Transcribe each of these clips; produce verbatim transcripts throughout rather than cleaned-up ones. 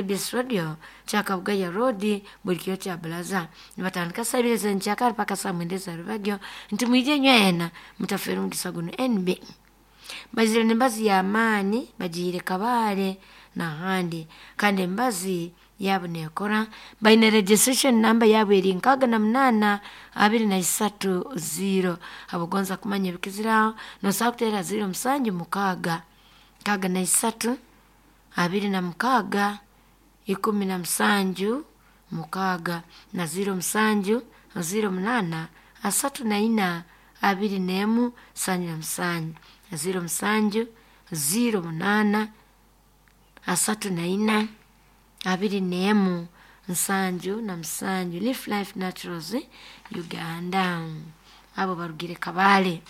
K B S Radio kyakabugaya Road, buli kiro kya bulaza nibatandika saa ibiri ez'enkyakara paka saa mwenda ez'arubagyo. Nti mwije nywena, mutafeera omugisa guno. N B bazire nembazi y'amaani, bagiire Kabale n'ahandi, kandi embazi yaabo neekora. Baine registration number yaabo eri nkaaga na munaana abiri na isatu zero. Abagonza kumanya ebikiziraho, nosobola kuteera zero musanju mukaaga nkaaga na isatu abiri na mukaaga ikumi na musanju mukaaga na zero musanju zero munaana asatu na ina abiri n'emu nsanju na musanju, zero musanju zero munaana asatu na ina abiri n'emu nsanju na musanju. Leaf Life Naturals Uganda, abo barugire Kabale.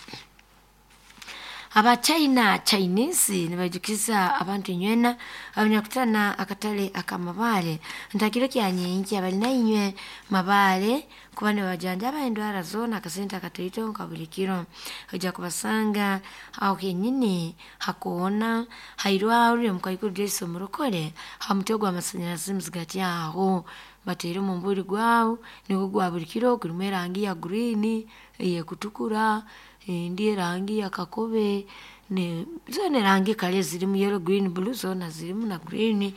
Aba China Chinese nibaijukiza abantu inywena abanyakutana akatale ak'Amabaale ntakiro kya nyenkya bali nainywe Mabaale kuba nibajanjaba endwara zoona akasente akataito nka buli kiro. Ojja kubasanga aho kenyini hakoona hairwarro omukaikuru Joyce Omurokole, ha mutwe gw'amasanyarazi muzigati aho bateire omumbuli gwabu, nigwo gwa buli kiro, gurimu erangi ya green, ey'ekutukura, endi erangi ya kakobe, zoona erangi kale zirimu yellow, green, blue, zoona zirimu na green.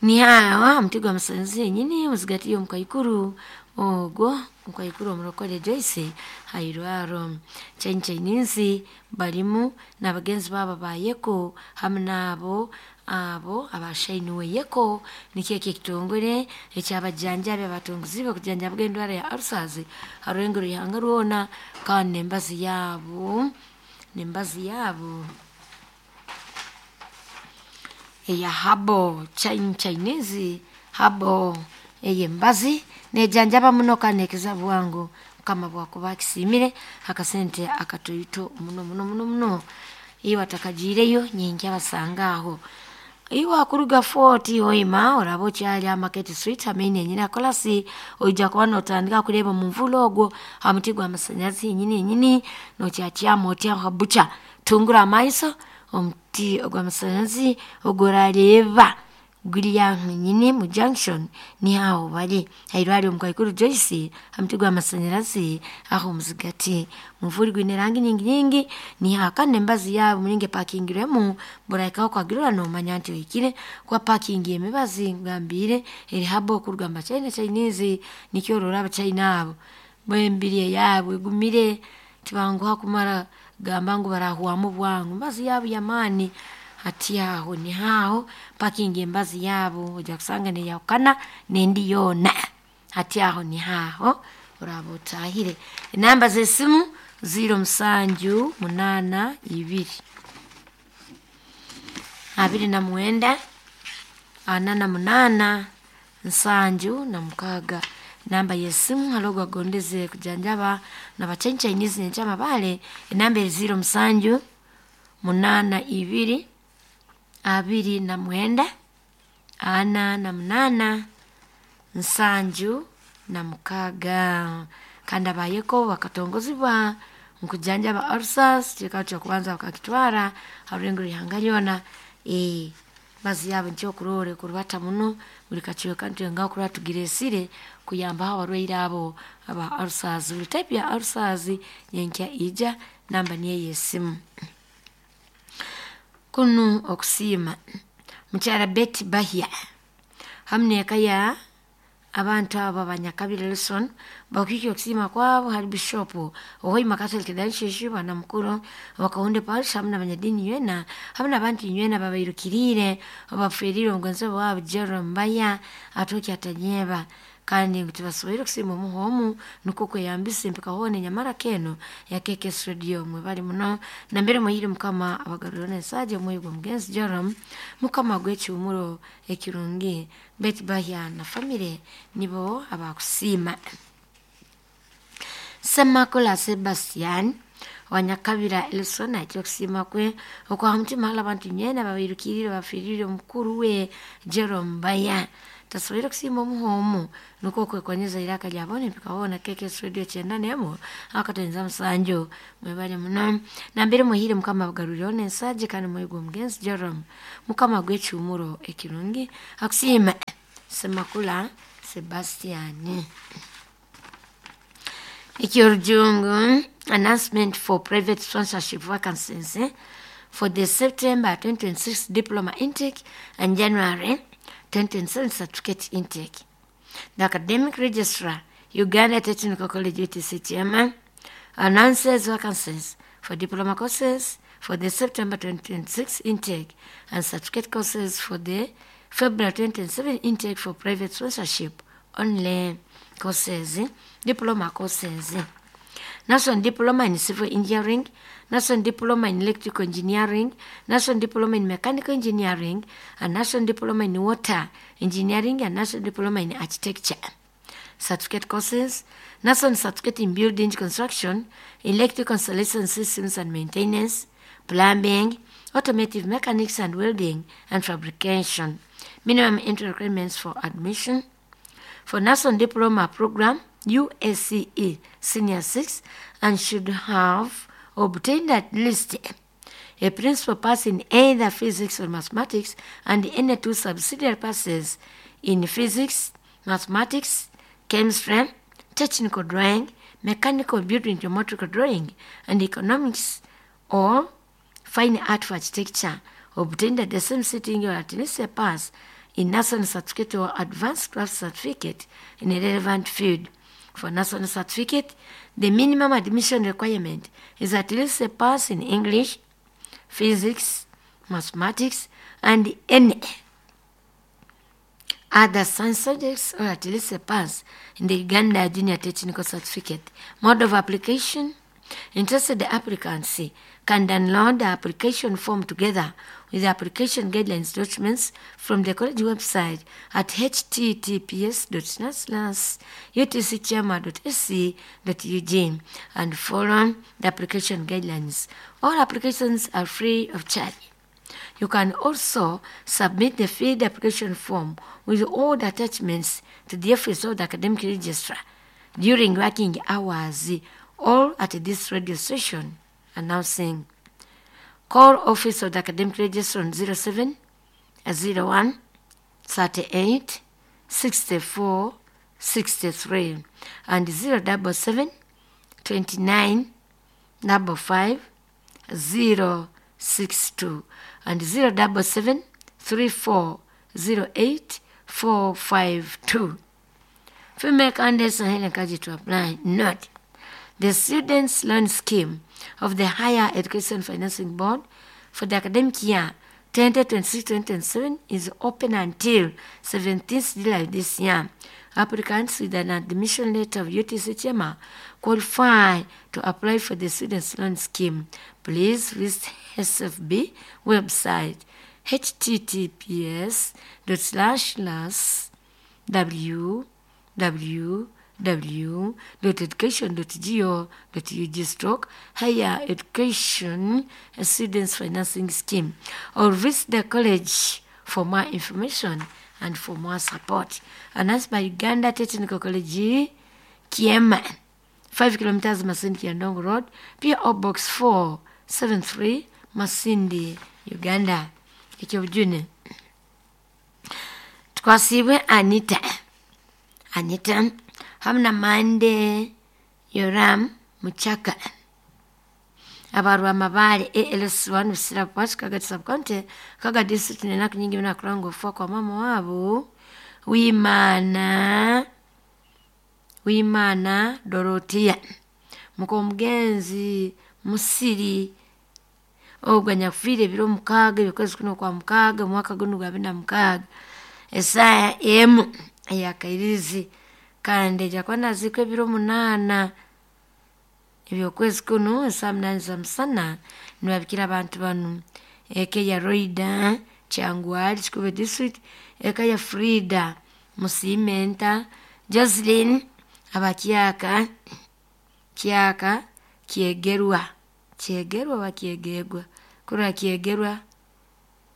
Niho aho ha muti gw'amasanyarazi henyini muzigati y'omukaikuru ogwo, omukaikuru Omurokole Joyce hairwarro. China Chinese barimu n'abagenzi baabo abayeko hamu n'abo abo abashainiwe yeko, nikyo eki ekitongore ekyabajanjabi abatungiziibwe kujanjabaga endwara ya ulcers ha rurengo rw'ihanga rwona, kandi n'embazi yaabo n'embazi yaabo eya herbal, Chinese herbal, ey'embazi nejanjaba muno kandi nekiza bwangu. Mukama bwakuba akisiimire akasente akatoito muno muno muno muno. Iwe atakagiireyo, nyenkya basanga aho. Iwe akuruga Fort Hoima, oraba okyali aha Market Street hamaini enyini akolasi, oija kuba notandika kureeba omunvuuli ogwo ha muti gw'amasanyarazi henyini henyini nokyakyama oti aho ha butcher, tungura amaiso, omuti ogw'amasanyarazi ogworareeba guri aho henyini mu junction, niho aho bari hairwarro omukaikuru Joyce ha muti gw'amasanyarazi aho muzigati. Omunvuuli gwine erangi nyingi nyingi, niho aho. Kandi embazi yaabo mulingo epakingirwemu, burahikaho okagirora nomanya nti ohikire, kuba parking y'emibazi nkugambiire eri herbal okuruga mu Bachina Chinese. Nikyo orora Abachina abo bo emibiri eyaabo egumire, tibanguha kumara kugamba ngu barahwamu bwangu, embazi yaabo y'amaani. Hati aho niho aho parking embazi yaabo ojja kusanga neyahukana n'endi yoona. Hati aho niho aho oraaba otaahire. Enamba z'esimu ziro musanju munaana ibiri abiri na mwenda ana na munaana nsanju na mukaaga, namba y'esimu hali ogu agondeze kujanjaba n'aba Chinese nyenkya Mabaale. Enamba eri ziro musanju munaana ibiri abiri na mwenda ana na munaana nsanju na mukaaga. Kandi abayeko bakatongozibwa nkujanjaba ulcers, kikaba ky'okubanza bakakitwara ha rurengo rw'ihanga lyona. Embazi yaabo nikyo okuroora ekurubata muno buli kacweka, nitwengaho kurora tugireesire kuyambaho abarwaire abo aba ulcers, buli type ya ulcers. Nyenkya ija, namba niyo ey'esimu. Kunu okusiima mukyara Betty Bahya hamu n'eka ya abantu abo abanyakabire Wilson bakwikya okusiima kwabo hali Bishop Ohoima Catholic Diocese, bwana mukuru Wakahunde Parish, hamu n'abanyadiini nywena hamu n'abantu nywena babairukiriire abaferiire omugonzebwa waabo Jerome Mbaya atooki atanyeba, kandi ngu tibasoboire kusiima omuha omu, nukwo kweyambisa empika hoona enyamara keno ya K K S Radio. Mwebale muno nambere muhire, Mukama abagarurire n'ensaagi, omwoyo gw'omugenzi Jerome Mukama gw'ekihuumuro ekirungi. Betty Bahya na famire nibo abakusiima. Semakula Sebastian wanyakabira Elson aitire okusiima kwe okwaha mutima hali abantu nywena babairukiriire bafiiriire omukuru we Jerome Mbaya, tasoboire kusiima omuha omu, nukwo kwekonyeza iraka lya boona empika hoona K K S Radio kyenda n'emu akatonyeza musanju. Mwebale muno nambere muhire, Mukama abagarurireho n'ensaagi, kandi omwoyo gw'omugenzi Jerome Mukama gw'ekihuumuro ekirungi. Akusiima. Semakula Sebastian. Eky'orujungu, announcement for private sponsorship vacancies eh, for the September twenty twenty-six diploma intake and January twenty twenty-seven certificate intake. The academic registrar, Uganda Technical College U T C chairman, announces vacancies for diploma courses for the September twenty twenty-six intake and certificate courses for the February twenty twenty-seven intake for private sponsorship only courses, diploma courses. National Diploma in Civil Engineering, National Diploma in Electrical Engineering, National Diploma in Mechanical Engineering, and National Diploma in Water Engineering, and National Diploma in Architecture. Certificate courses, National Certificate in Building Construction, Electrical Installation Systems and Maintenance, Plumbing, Automotive Mechanics and Welding and Fabrication. Minimum entry requirements for admission. For National Diploma Program, U A C E Senior six, and should have obtained at least a principal pass in either physics or mathematics and any two subsidiary passes in physics, mathematics, chemistry, technical drawing, mechanical building, geometrical drawing, and economics or fine art for architecture, obtained at the same sitting or at least a pass in national certificate or advanced craft certificate in a relevant field. For national certificate, the minimum admission requirement is at least a pass in English, physics, mathematics, and any other science subjects, or at least a pass in the Uganda Junior Technical Certificate. Mode of application: interested applicants can download the application form together with the application guidelines documents from the college website at h t t p s dot slash u t c chairman dot a c dot u g and follow the application guidelines. All applications are free of charge. You can also submit the filled application form with all the attachments to the office of the academic registrar during working hours, or at this radio station announcing. Call office of the academic registrar on zero seven zero one thirty-eight sixty-four sixty-three and zero double seven twenty-nine double five zero six two and zero double seven three four zero eight four five two. Female candidates are encouraged to apply. Note, the Students' Loan Scheme of the Higher Education Financing Board for the academic year twenty twenty-six twenty twenty-seven is open until seventeenth July this year. Applicants with an admission letter of U T C Chema qualify to apply for the Students' Loan Scheme. Please visit S F B website h t t p s dot slash slash w w w dot education dot go dot u g stroke higher education students financing scheme, or visit the college for more information and for more support. Announced by Uganda Technical College, Kiema, five kilometers Masindi Kiandongo Road, P O Box four seven three, Masindi, Uganda. Ekyobujune twasibwe Anita Anita hamna Mande Yoram Muchaka abarwa mabale A L S one usira pash Kaga subcounty Kaga district nenaku nyingi na kurango fwa kwa mama wabo Wimana Wimana Dorotia muko mugenzi Musiri ogwa nyafire biro mukaga ebikozi kuno kwa mukaga mwaka guno gwa bina mukaga esaya emu eyakairizi kandi jakwana ziko ebiro munana ebyokwezi kuno saa munani za musana nibabikira abantu banu eka ya Roida Kyangwali Kikuube district, eka ya Frida Musimenta Jocelyn abakyaka kyaka kyegerwa kyegerwa bakyegerwa kurwa kyegerwa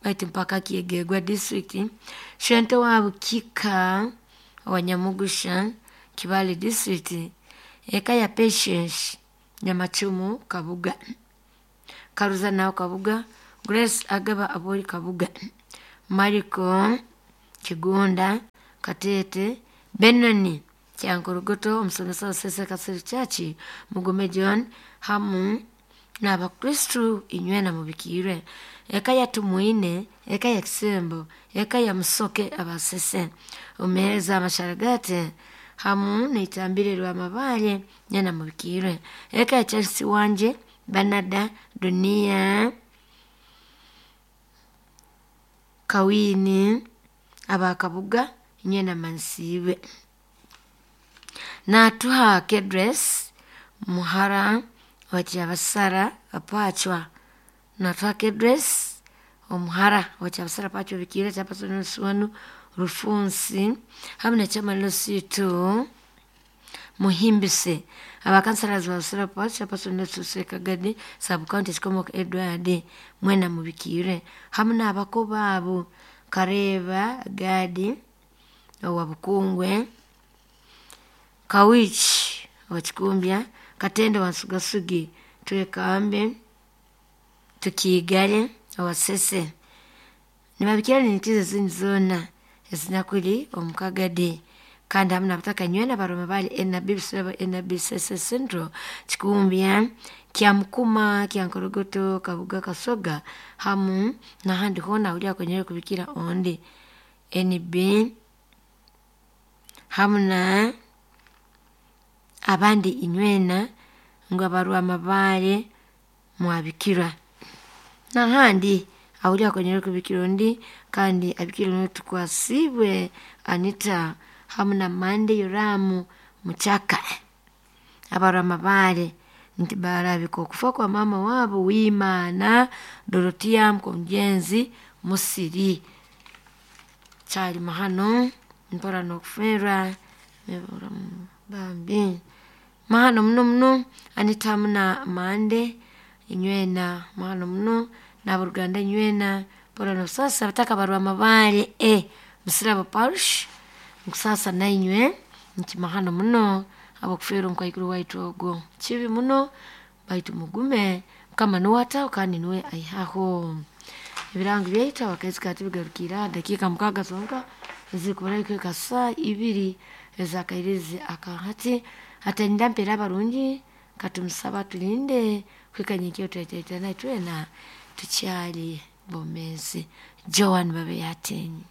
baitu mpaka kyegerwa district, Shente wa Bukika Wanyamugusha Kibale district, eka ya Patience Nyamachumu Kabuga Karuza nao Kabuga Grace Agaba Abori Kabuga Mariko Kigunda Katete Benoni Kyankorogoto omusomesa wa Sese Kasiri Church Mugume John hamu n'abakristu inywena mubikirwe eka ya Tumwine, eka ya Kisembo, eka ya Musoke abasese omuheereza amasharagate hamu n'itambire rw'amabaale nyena mubikirwe eka ya Charles Wanje Banada Dunia Kawini abakabuga inywena mansiibwe natuha Kedres muhara wa Kyabasara Apachwa natuha Kedres omuhara wa Kyabasara Apachwa bikire kyapasoni Rufunsi hamu nekyamaliro situ Muhimbise abakansalazi ba Busira Parish Chairperson Kagadi Sub County Kikomoka Edward mwena mubikire hamu n'abako baabo Kareeba Gadi owa Bukungwe Kawichi owa Kikumbya Katende wa Nsugasugi Twekambe Tukiigale owa Sese nibabikira nintiza ezindi zoona ezinakuli omu Kagadi kandi hamu n'abataka nywena baroma bali N B Busirabo N B Sese Central Kikumbya Kyamukuma Kyankorogoto Kabuga Kasoga hamu n'ahandi hoona ahuri akonyere kubikira ondi N B hamu na abandi inywena ngu abarwamabaale mwabikirwa n'ahandi ahuri akonyere kubikira ondi kandi abikire n'otukwasiibwe Anita hamu na Mande Yoramu Muchaka abarwamabaale nti barabika okufa kwa mama waabo Wiimana Dorotia Mukomugenzi Musiri kyali mahano mpora n'okufeerwa bambi mahano muno muno Anita hamu na Mande inywena mahano muno n'aboruganda inywena mpora n'obusaasi abataka barwamabaale e Busirabo Parish nkusaasa nainywe nti mahano muno habw'okufeerwa omukaikuru waitu ogwo kibi muno baitu mugume Mukama nuwe ataho kandi nuwe aihaho ebirango byaitu abakazi kati bigarukire aha dakiika mukaaga zonka ezirikubura kuhika saaha ibiri ez'akairizi akahati atenda mpeera abarungi katumusaba atulinde kuhika nyenkya twetwetana itwena tukyali bomeezi Joan Babe Yatenyi.